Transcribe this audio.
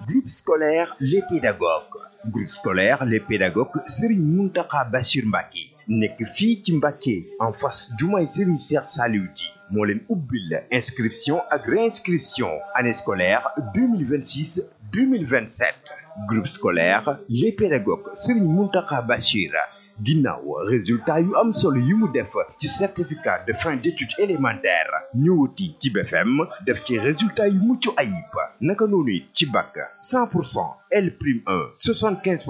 Groupe scolaire Les Pédagogues. Groupe scolaire Les Pédagogues Serigne Mountakha Bachir Mbacké nekk fii ci Mbacké en face jumaay Serigne Cheikh Saliou Di moo leen ubbil inscription ak réinscription année scolaire 2026 2027 groupe scolaire Les Pédagogues Serigne Mountakha Bachir ginnaaw résultat yu am solo yi mu def ci certificat de fin d'études élémentaires ñëwati ci BFM def ci résultat yu mucc ayib naka noonu ci bac 100% L prime 1 75%